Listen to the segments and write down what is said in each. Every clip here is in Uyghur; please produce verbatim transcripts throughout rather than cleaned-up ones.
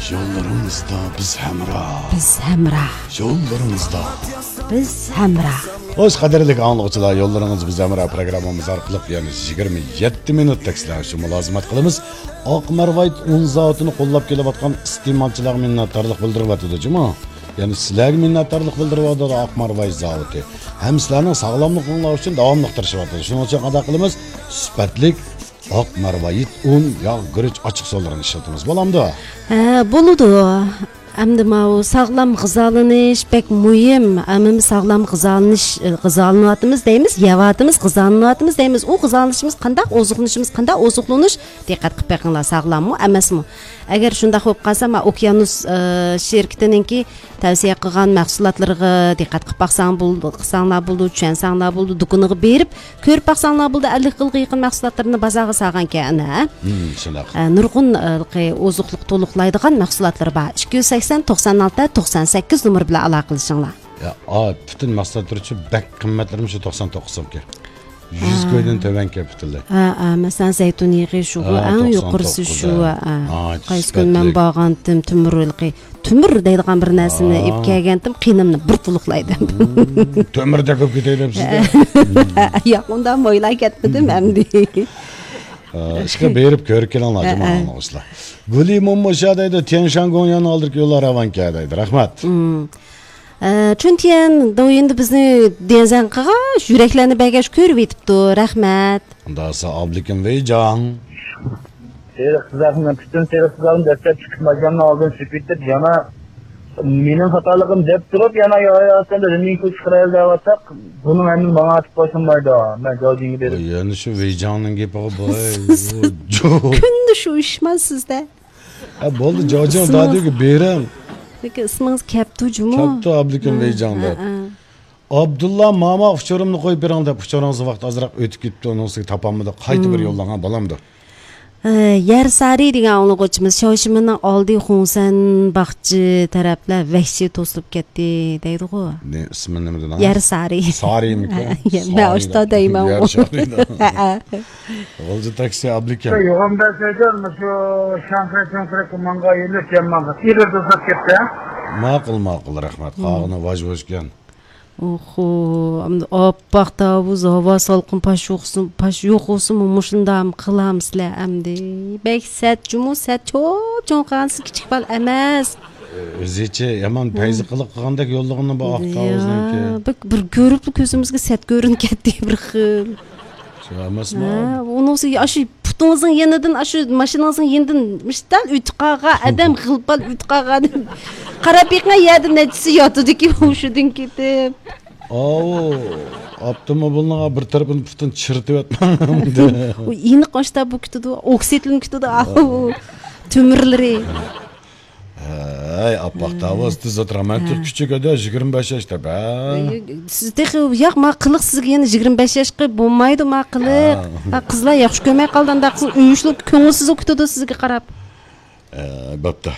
يوللىرىڭىزدا بىز ھەمراھ. بىز ھەمراھ. يوللىرىڭىزدا بىز ھەمراھ. خوش، قەدىرلىك ئاڭلىغۇچىلار، يوللىرىڭىز بىز ھەمراھ پروگراممىمىز ئارقىلىق يەنە يىگىرمە يەتتە مىنۇتتەك سىلەر ئۈچۈن مۇلازىمەت قىلىمىز. ئاق مارۋايىت ئۇن زاۋۇتىنى قوللاپ كېلىۋاتقان ئىستېمالچىلارغا مىننەتدارلىق بىلدۈرۈۋاتىدۇ جۇمۇ. يەنە سىلەرگە مىننەتدارلىق بىلدۈرۈۋاتىدۇ، ئاق مارۋايىت زاۋۇتى. ھەم سىلەرنىڭ ساغلاملىقىڭلار ئۈچۈن داۋاملىق تىرىشىۋاتىدۇ. شۇنىڭ ئۈچۈن قانداق قىلىمىز؟ سۈپەتلىك ئاق مارۋايىت ئۇن، ياغ، گۈرۈچ، ئاچچىق سۇلىرىنى ئىشلىتىمىز، بولامدۇ؟ ھە، بولىدۇ. ئەمدى ماۋۇ ساغلام غىزالىنىش بەك مۇھىم. ئەمما ساغلام غىزالىنىش، غىزالىنىۋاتىمىز دەيمىز، يەۋاتىمىز، غىزالىنىۋاتىمىز دەيمىز. ئۇ غىزالىنىشىمىز قانداق، ئوزۇقلىنىشىمىز قانداق، ئوزۇقلىنىش، دىققەت قىلىپ بېقىڭلار، ساغلاممۇ، ئەمەسمۇ؟ ئەگەر شۇنداق بولۇپ قالسا، ما ئوكيانۇس، ئە، شىركىتىنىڭكى تەۋسىيە قىلغان مەھسۇلاتلىرىغا دىققەت قىلىپ باقساڭ بولىدۇ، قىلساڭلار بولىدۇ، چۈشەنسەڭلار بولىدۇ، دۇكىنىغا بېرىپ كۆرۈپ باقساڭلار بولىدۇ، ئەللىك خىلغا يېقىن مەھسۇلاتلىرىنى بازارغا سالغانكەن، ھە؟ ھىم، شۇنداق. ئە، نۇرغۇن، ئە، ھېلىقى ئوزۇقلۇق تولۇقلايدىغان مەھسۇلاتلىرى بار. ئىككى يۈز سەكسەن، توقسان ئالتە، توقسان سەككىز نومۇر بىلەن ئالاقىلىشىڭلار. يا، ئا، پۈتۈن مەھسۇلاتلىرى ئۈچۈن بەك قىممەتلىرىمۇ شۇ توقسان توققۇز سومكەن. يۈز ھە. كويدىن تۆۋەنكەن پۈتۈنلەي. ھە، ھە، مەسىلەن، زەيتۇن يېغى شۇ، ھە، ئەڭ يۇقىرىسى شۇ، ھە. ھە. قايسى كۈنى مەن بارغانتىم، تۆمۈر ھېلىقى تۆمۈر دەيدىغان بىر نەرسىنى ئېلىپ كەلگەنتىم، قېنىمنى بىر بۇلۇقلايدۇ. مم، تۆمۈردەك بولۇپ كېتەي دەپسىز-دە. ياق، ئۇنداق ئويلاپ كەتمىدىم ئەمدى. ئىشقىلىپ بېرىپ كۆرۈپ كېلىڭلار، ھە، جۇمۇ ھە. ئاڭلىغۇچىلار. گۈلى مومو شۇ دەيدۇ، تيەنشان گوڭياننىڭ ئالدىدىكى يوللار راۋانكەن دەيدۇ. رەھمەت. مم. ئە، چۈنتيەن دويىندا بىزنى دېڭزەن قىلغاچ، يۈرەكلەرنى بەرگەچ كۆرۈۋېتىپتۇ. رەھمەت. ئۇنداق بولسا ئابلىكىم ۋېيجاڭ. سېرىق سىزاقنى، پۈتۈن سېرىق سىزاقنى دەسلەپ چىقىپ، ماشىنىنىڭ ئالدىنى سۈپۈرۈپ، يەنە مېنىڭ خاتالىقىم دەپ تۇرۇپ، يەنە يا، يا، سەن رېمىنكا چىقىرايلى دەۋاتساق، بۇنىڭ ھەممىسى ماڭا ئاتىپ باشلىمايدۇ. مەن جاۋجىڭگە بېرىپ. يەنە شۇ ۋېيجاڭنىڭ گېپىغا باي. سىز كۈندە شۇ ئىشما سىزدە. ھە، بولدى، جاۋجىڭ دادۈگە بېرىڭ. لېكىن ئىسمىڭىز كەپتۇ جۇمۇ. كەپتۇ، ئابلىكىم ھە، ۋېيجاڭ ھە، دەپ. ھە. ئابدۇللا ماما ئۇچۇرۇمنى قويۇپ بېرىڭ دەپ، ئۇچۇرىڭىزنى ۋاقىت ئازراق ئۆتۈپ كېتىپتۇ، ئۇنىڭ ئۈستىگە تاپالمىدۇق، قايتا بىر مم. يوللاڭا بولامدۇ؟ ئە، يەر سارى دېگەن ئاڭلىغۇچىمىز، شاۋشىمىنىڭ ئالدى خۇڭسەن باغچە تەرەپلەر ۋەھشىي توسۇلۇپ كەتتى دەيدىغۇ. نېمە، ئىسمى نېمە دېدىڭىز؟ يەر سارى. سارىمىكەن؟ مەن ئاشتا دەيمەن. يەر سارى. غۇلجا تاكسى ئابلىكەم. 有个没事就么说上山上山给忙个一路先忙个，一路都是给的。 ماقۇل، ماقۇل، رەھمەت. قالغىنى ۋاج-ۋۇجكەن. ئوخۇ، ئەمدى ئاپئاق تاۋۇز، ھاۋا سالقىن، پاش يوقسۇن، پاش يوق بولسىمۇ مۇشۇنداق قىلامسىلەر ئەمدى. بەك سەت جۇمۇ، سەت چوپ-چوڭ قىلغانسىز، كىچىك بالا ئەمەس. ئۆزىچە يامان پەيزى قىلىق قىلغاندەك يوللىغىنى بۇ ئاق تاۋۇزنىڭكى. يا، بىر، بىر كۆرۈپلا كۆزىمىزگە سەت كۆرۈنۈپ كەتتى بىر خىل. شۇ ئەمەسمۇ؟ ھە، ئۇنىڭ ئۈستىگە ئاشۇ پۇتىڭىزنىڭ يېنىدىن، ئاشۇ ماشىنىڭىزنىڭ يېنىدىن مۇشتال ئۆتۈپ قالغان ئادەم، غىلپال ئۆتۈپ قالغان ئادەم. قاراپ بېقىڭ، يەردە نەچچىسى ياتىدىكى ھوشىدىن كېتىپ. ئاۋۇ، ئاپتوموبىلنىڭ بىر تەرىپىنى پۇتىنى چىرىتىۋەتمەڭ. ئۇ ئېنىق ئاشتا بۇ كېتىدۇ، ئوكسىدلىنىپ كېتىدۇ، ئاۋۇ تۆمۈرلىرى. ھەي، ئاپئاق تاۋۇز، تېز ئولتۇرۇڭ. مەن تېخى كىچىك ئەدە، يىگىرمە بەش ياشتا، بە. سىز تېخى، ياق، ما قىلىق سىزگە يەنە يىگىرمە بەش ياشقا بولمايدۇ، ما قىلىق. ھە. ھە، قىزلار ياخشى كۆرمەي قالدى، ئانداق قىز ئۆيۈشلۈك كۆڭۈلسىز بولۇپ كېتىدۇ سىزگە قاراپ. ئە، بوپتۇ.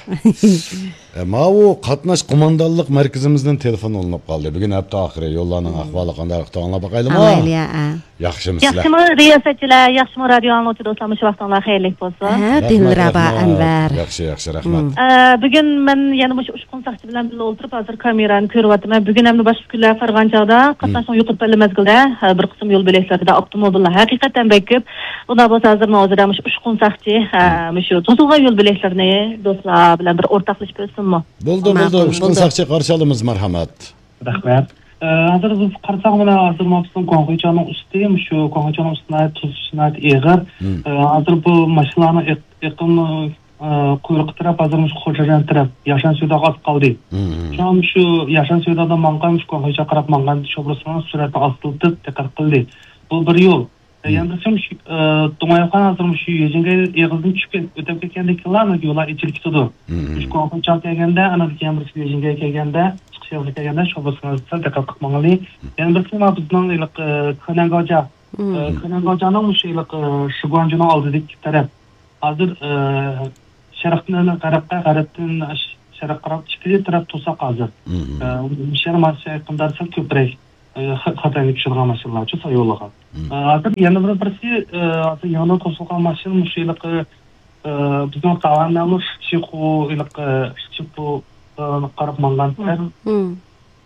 ئە، ماۋۇ قاتناش قوماندانلىق مەركىزىمىزدىن تېلېفون ئۇلىنىپ قالدى. بۈگۈن ھەپتە ئاخىرى، يوللارنىڭ ئەھۋالى قانداق، ئاڭلاپ باقايلىمۇ؟ ئاڭلايلى، ھە. ياخشىمۇسىلەر؟ ياخشىمۇ رىياسەتچىلەر، ياخشىمۇ رادىيو ئاڭلىغۇچى دوستلار، مۇشۇ ۋاقتىڭلار خەيرلىك بولسۇن. ھە، رەھمەت، دىلرەبا رەھمەت. ئەنۋەر. ياخشى، ياخشى، رەھمەت. مم. ئە، بۈگۈن مەن يەنە مۇشۇ ئۇچقۇن ساقچى بىلەن بىللە ئولتۇرۇپ، ھازىر كامېرانى كۆرۈۋاتىمەن. بۈگۈن ھەمدە باشقا كۈنلەر قارىغان چاغدا، مم. قاتناشنىڭ يۇقىرى پەللە مەزگىلدە، ھە، بىر قىسىم يول بۆلەكلىرىدە ئاپتوموبىللار ھەقىقەتەن بەك كۆپ. ئۇنداق بولسا ھازىرمۇ ھازىر مۇشۇ ئۇچقۇن ساقچى، ھە، مم. مۇشۇ توسۇلغان يول بۆلەكلىرىنى دوستلار بىلەن بىر ئورتاقلىشىپ ئۆتسۇنمۇ؟ بولدى، بولدى. ماقۇل، ئۇچقۇن بولدى. ساقچى قارشى ئالىمىز، مارھامەت. رەھمەت. ئە، ھازىر بىز قارىساق، مانا ھازىر مانا بىزنىڭ گۇاڭخۇيچياۋنىڭ ئۈستى، مۇشۇ گۇاڭخۇيچياۋنىڭ ئۈستى ناھايىتى توسۇش ناھايىتى ئېغىر. مم. ئە، ھازىر بۇ ماشىنىلارنىڭ ئېق-، ئېقىم، ئە، قۇيرۇقى تەرەپ ھازىر مۇشۇ خوجاجيەن تەرەپ ياشان سۆداغا ئاز قالدى. مم. شۇڭا مۇشۇ ياشان سۆدادا ماڭغان، مۇشۇ گۇاڭخۇيچياغا قاراپ ماڭغان شوپۇرلىرىمىز سۈرئەتنى ئاستىلىتىپ دىققەت قىلدى. بۇ بىر يول. ئە، مم. يەنە بىرسى مۇشۇ، ئە، دۇڭياۋخان ھازىر مۇشۇ يۈجىنگەي ئېغىزىدىن چۈشۈپ كەت-، ئۆتۈپ كەتكەندىن كېيىنلا يوللار ئېچىلىپ كېتىدۇ. مم. مۇشۇ گۇاڭخۇيچياغا كەلگەندە، ئاندىن كېيىن بىرسى يۈجىنگەي كەلگەندە، چىقىش يولىغا كەلگەندە شوپۇرلىرىمىز سەل دىققەت قىلىپ ماڭايلى. مم. يەنە بىرسى مانا بىزنىڭ ھېلىقى، ئە، مم. كېنەنگاۋجيا، مم. ئە، كېنەنگاۋجيانىڭ مۇشۇ ھېلىقى، ئە، شىگۇەنجۇنىڭ ئالدىدىكى تەرەپ. ھازىر، ئە، شەرقتىن غەربقە، غەربتىن ش-، شەرققە قاراپ ئىككى تەرەپ توساق ھازىر. مم. ئە، مۇشۇ يەر مانا شۇ يېقىندا سەل كۆپرەك، ئە، خە-، خەتەرگە چۈشىدىغان ماشىنىلارچۇ ساياھەت يولىغا. مم. ئە، ھازىر يەنە بىر بىرسى، ئە، ھازىر يېڭىدىن توسۇلغان ماشىنا مۇشۇ ھېلىقى، ئە، بىزنىڭ تاۋانلارمۇ شىچىخۇ، ھېلىقى شىچىخۇغا قاراپ ماڭغان. مم.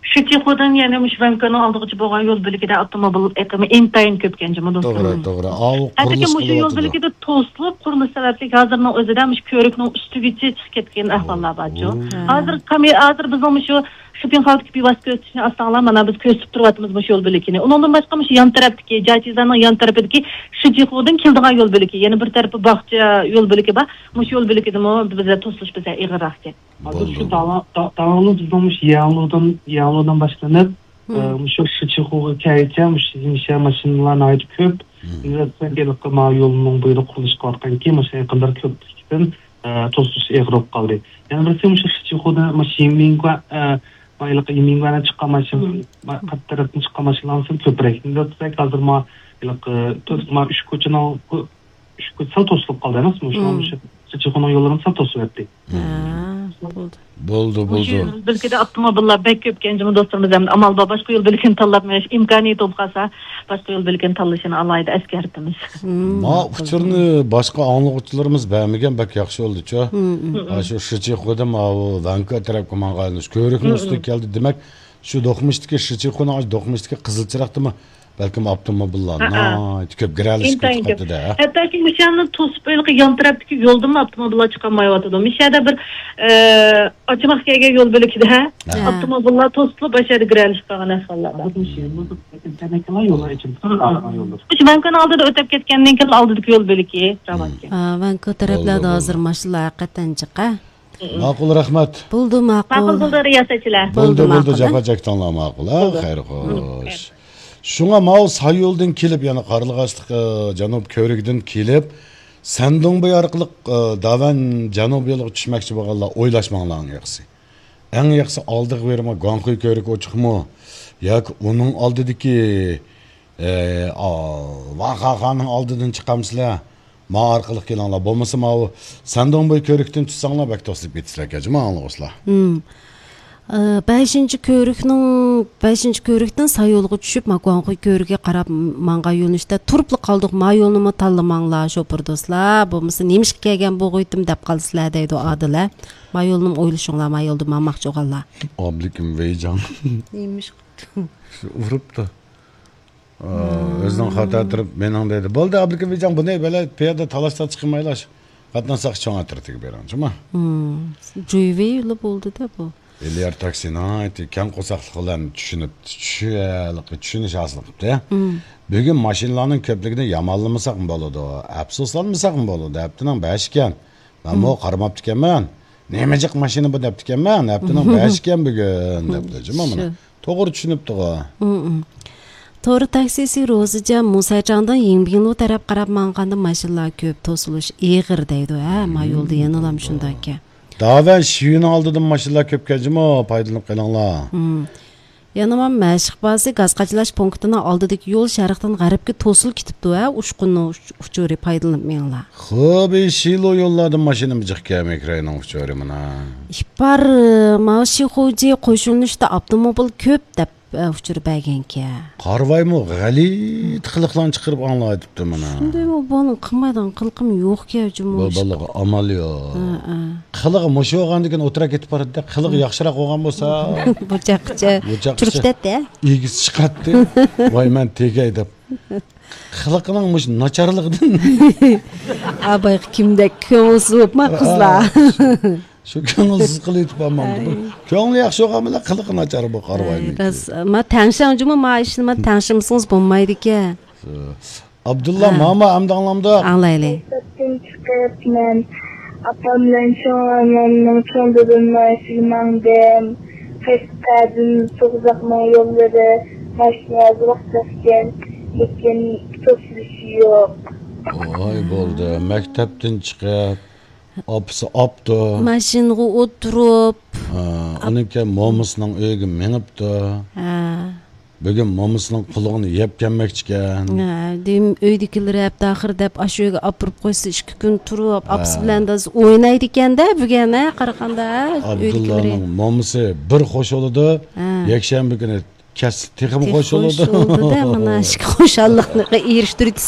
شىچىخۇدىن يەنە مۇشۇ ۋەنكۆنىڭ ئالدىغىچە بولغان يول بۆلىكىدە ئاپتوموبىل ئېقىمى ئىنتايىن كۆپكەن جۇمۇ، دوستلار. توغرا، توغرا. ئاۋۇ ھەتتىكى قۇرۇلۇش مۇشۇ يول قىلىۋاتىدۇ. بۆلىكىدە توسۇلۇپ، قۇرۇلۇش سەۋەبلىك ھازىرنىڭ ئۆزىدە مۇشۇ كۆۋرۈكنىڭ ئۈستىگىچە چىقىپ كەتكەن ئەھۋاللار بار جۇ. ھە. ھازىر كامي-، ھازىر بىزنىڭ مۇشۇ شوپىڭ خاۋدىكى بىۋاسىتە كۆزىتىشنى ئاستاڭلار، مانا بىز كۆزىتىپ تۇرۇۋاتىمىز مۇشۇ يول بۆلىكىنى. ئۇنىڭدىن باشقا مۇشۇ يان تەرەپتىكى، جاچىزانىڭ يان تەرىپىدىكى شىچىخۇدىن كېلىدىغان يول بۆلىكى، يەنە بىر تەرىپى باغچە يول بۆلىكى بار. مۇشۇ يول بۆلىكىدىمۇ بىزدە توسۇلۇش بىزدە ئېغىرراق. ھازىر شۇ بولدى. داۋا-، دا-، داۋامىز بىزنىڭ مۇشۇ يەڭلۇدىن، يەڭلۇدىن باشلىنىپ، مم. ئە، مۇشۇ شىچىخۇغا كەلگۈچە مۇشۇ يېڭىشە ماشىنىلار ناھايىتى كۆپ. مم. ئىنۋېستىسىيە ھېلىقى ما يولنىڭ بويىدا قۇرۇلۇش قىلىۋاتقانكى، ماشىنا يېقىنلىرى كۆپلۈكتىن، ئە، توسۇلۇش ئېغىر بولۇپ قالدى. يەنە بىرسى مۇشۇ شىچىخۇدا ماشىنا مىڭگۇا، ئە، ما ھېلىقى مىڭگۇانى چىققان ماشىنا، مم. ما قارشى تەرەپتىن چىققان ماشىنىلار كۆپرەك. ئىنۋېستىسىيە ھازىر ما ھېلىقى تۆت، ما ئۈچ كوچىنىڭ ئۈچ كوچا سەل توسۇلۇپ قالدى ئەمەسمۇ؟ شۇڭا مم. مۇشۇ شىچىخۇنىڭ يوللىرىمۇ سەل توسۇپ ئەتتى. ھە، بولدى. بولدى، مۇشۇ بولدى. يول بۆلىكىدە ئاپتوموبىللار بەك كۆپكەن جۇمۇ، دوستلىرىمىز، ئەمدى ئامال بار، باشقا يول بۆلىكىنى تاللاپ مېڭىش ئىمكانىيىتى بولۇپ قالسا، باشقا يول بۆلىكىنى تاللىشىنى ئالاھىدە ئەسكەرتىمىز. مم، ما ماقۇل. ئۇچۇرنى باشقا ئاڭلىغۇچىلىرىمىز بەرمىگەن، بەك ياخشى بولدىچۇ. مم، مم. مم. ھە، شۇ شىچىخۇدىن ماۋۇ ۋەنكۇ تەرەپكە ماڭغان كۆۋرۈكنىڭ مم، ئۈستىگە مم. كەلدى. دېمەك، شۇ دوقمۇشتىكى شىچىخۇنىڭ، ئاشۇ دوقمۇشتىكى قىزىل چىراغدىمۇ بەلكىم ئاپتوموبىللار ھەئە. ناھايىتى كۆپ گىرەلىشىپ ئىنتايىن كۆپ. كېتىۋاتىدۇ، ھە. ھەتتاكى مۇشۇ يەرنى توسۇپ، ھېلىقى يان تەرەپتىكى يولدىنمۇ ئاپتوموبىللار چىقالمايۋاتىدۇ. مۇشۇ يەردە بىر، ئە، ئاچىماق كەلگەن يول بۆلىكىدە، ھە، ھە. ئاپتوموبىللار توسۇلۇپ، ئاشۇ يەردە گىرەلىشىپ قالغان ئەھۋاللار بار. ھازىر مۇشۇ يەرنى تەنەكىلەر يولى ئېچىلسا، ئارقا يوللار. مۇشۇ ۋەنكۇنىڭ ئالدىدا ئۆتۈپ كەتكەندىن كېيىن ئالدىدىكى يول بۆلىكى راۋانكەن. ھا، ۋەنكۇ تەرەپلەردە بولدى، ھازىر بولدى. ماشىنىلار ھەقىقەتەن جىق، ھە. ماقۇل، رەھمەت. بولدى، ماقۇل. ماقۇل بولدى، رىياسەتچىلەر. بولدى، بولدى، بولدى، ماقۇل، ھە؟ جاپا چەكتىڭلار، ماقۇل، ھە؟ بولدى. خەير، خوش. شۇڭا ماۋۇ سايولدىن كېلىپ، يەنە قارلىغاچلىق، ئە، جەنۇب كۆۋرۈكىدىن كېلىپ، سەندۇڭبېي ئارقىلىق، ئە، داۋەن جەنۇب يولىغا چۈشمەكچى بولغانلار ئويلاشماڭلار ئەڭ ياخشىسى. ئەڭ ياخشىسى ئالدىغا بېرىمۇ، گۇاڭخۇي كۆۋرۈكى ئوچۇقمۇ ياكى ئۇنىڭ ئالدىدىكى ئى، ئا، ۋاخاخانىڭ ئالدىدىن چىقامسىلەر؟ ما ئارقىلىق كېلىڭلار. بولمىسا ماۋۇ سەندۇڭبوي كۆۋرۈكتىن چۈشسەڭلار بەك توسۇلۇپ كېتىسىلەركەن جۇمۇ ئاڭلىغۇچىلار. ھىم. ئى، بەشىنچى كۆۋرۈكنىڭ، بەشىنچى كۆۋرۈكتىن سايولغا چۈشۈپ، ما گۇاڭخۇي كۆۋرۈكىگە قاراپ ماڭغان يۆنىلىشتە تۇرۇپلا قالدۇق. ما يولنىمۇ تاللىماڭلار، شوپۇر دوستلار. بولمىسا نېمىشقا كەلگەن بۇ غۇيتىم دەپ قالىسىلەر دەيدۇ ئادىلە. ما يولنىمۇ ئويلىشىڭلار، ما يولدا ماڭماقچى بولغانلار. ئابلىكىم ۋەيجاڭ. نېمىشقا؟ شۇ ئۇرۇپتۇ. ئا، ئۆزىنىڭ خاتا تۇرۇپ مېنىڭ دەيدۇ. بولدى، ئابلىكىم بىجان، بۇنى بەلە پىيادە تالاش تارتىش قىلمايلا، شۇ قاتناشساق چوڭ ئەترىتىگە بېرىڭ، جۇما. ھىم. جۇيۋېيلا بولدى-دە بۇ. ئېلىيار تاكسى ناھايىتى كەڭ قورساقلىق بىلەن چۈشىنىپ، چۈشەنلىك، چۈشىنىش ھاسىل قىپتۇ. ھىم. بۈگۈن ماشىنىلارنىڭ كۆپلۈكىنى يامانلىمىساقمۇ بولىدۇ، ئەپسۇسلانمىساقمۇ بولىدۇ، ھەپتىنىڭ بەشى ئىكەن. مەنمۇ قارىماپتىكەنمەن. نېمە جىق ماشىنا بۇ دەپتىكەنمەن. ھەپتىنىڭ بەشى ئىكەن بۈگۈن دەپتۇ. جۇما مانا. شۇ. توغرا چۈشىنىپتىغۇ. مم. تور تاكسىسى روزىجان مۇسەجاڭدىن يىڭبىڭلۇ تەرەپ قاراپ ماڭغاندا ماشىنىلار كۆپ، توسۇلۇش ئېغىر دەيدۇ. ھە، ما يولدا يەنىلا شۇنداككەن. داۋەن شىيۈنىڭ ئالدىدىن ماشىنىلار كۆپكەن جۇمۇ، پايدىلىنىپ قېلىڭلار. مم. يەنە مەشىق بازى گاز قاچىلاش پونكىتىنىڭ ئالدىدىكى يول شەرقتىن غەربكە توسۇلۇپ كېتىپتۇ، ھە، ئۇچقۇننىڭ ئۇچ-، ئۇچۇرى، پايدىلىنىپ مېڭىڭلار. خېبېي شىلو يوللاردىن ماشىنا جىق كەلمەي كىراينىڭ ئۇچۇرى مانا. ئىپار، ماۋ شىخۇجى قوشۇلۇشتا ئاپتوموبىل كۆپ دەپ، ئە، ئۇچۇر بەرگەنكەن. قارىۋايمۇ غەلىتە قىلىقلارنى چىقىرىپ ئاڭلاۋېتىپتۇ مانا. شۇندايمۇ بۇنىڭ قىلمايدىغان قىلىقىم يوق كەن جۇمۇ. بۇ بالىغا ئامال يوق. ھە، ھە. قىلىقى مۇشۇ بولغاندىكىن ئوتتۇرا كېتىپ بارىدۇ. قىلىقى ياخشىراق بولغان بولسا. بۇ چاققىچە بۇ چاققىچە تۇرۇپ كېتەتتى. ئىگىسى چىقاتتى. ۋاي، مەن تېگەي دەپ. قىلىقىنىڭ مۇشۇ ناچارلىقىدىن. ئاباي كىمدەك كۆڭۈلسىز بولۇپما قىزلار. شۇ كۆڭۈلسىز قىلىۋېتىپ ئالمامدۇ. بۇ كۆڭلى ياخشى بولغان بىلەن قىلىقى ناچار بۇ قارىۋاينىڭكى. ئەي، راست. ما تەڭشەڭ جۇمۇ، ما ئىشنى ما تەڭشىمىسىڭىز بولمايدىكەن. ئابدۇللا، ھە. ماما ئەمدى ئاڭلامدۇ؟ ئاڭلايلى. مەكتەپتىن چىقىپ، مەن ئاپام بىلەن چوڭ ئانامنىڭ چوڭ دادامنىڭ ئىشىگە ماڭدىم. قەشقەردىن سوغۇزاقنىڭ يوللىرى ماشىنا ئازراق ئىكەن، لېكىن توسۇلۇشى يوق. ۋاي، بولدى. مەكتەپتىن چىقىپ، ئاپىسى ئاپتۇ. ماشىنىغا ئولتۇرۇپ. ھە، ئۇنىڭ كېيىن مومىسىنىڭ ئۆيىگە مېڭىپتۇ. ھە. بۈگۈن مومىسىنىڭ قۇلىقىنى يەپ كەلمەكچىكەن. ھە، دېم-، ئۆيدىكىلىرى ھەپتە ئاخىرى دەپ ئاشۇ ئۆيگە ئاپىرىپ قويسا، ئىككى كۈن تۇرۇپ، ھە. ئاپىسى بىلەن دادىسى ئوينايدىكەن-دە بۈگۈن، ھە، قارىغاندا، ھە، ئۆيدىكىلىرى. ئابدۇللانىڭ مومىسى بىر خوش بولىدۇ، ھە. يەكشەنبە كۈنى كەتسە تېخىمۇ خوش بولىدۇ. تېخى خوش بولىدۇ-دە، مانا، ئىككى خۇشاللىقنى ئېرىشتۈردى.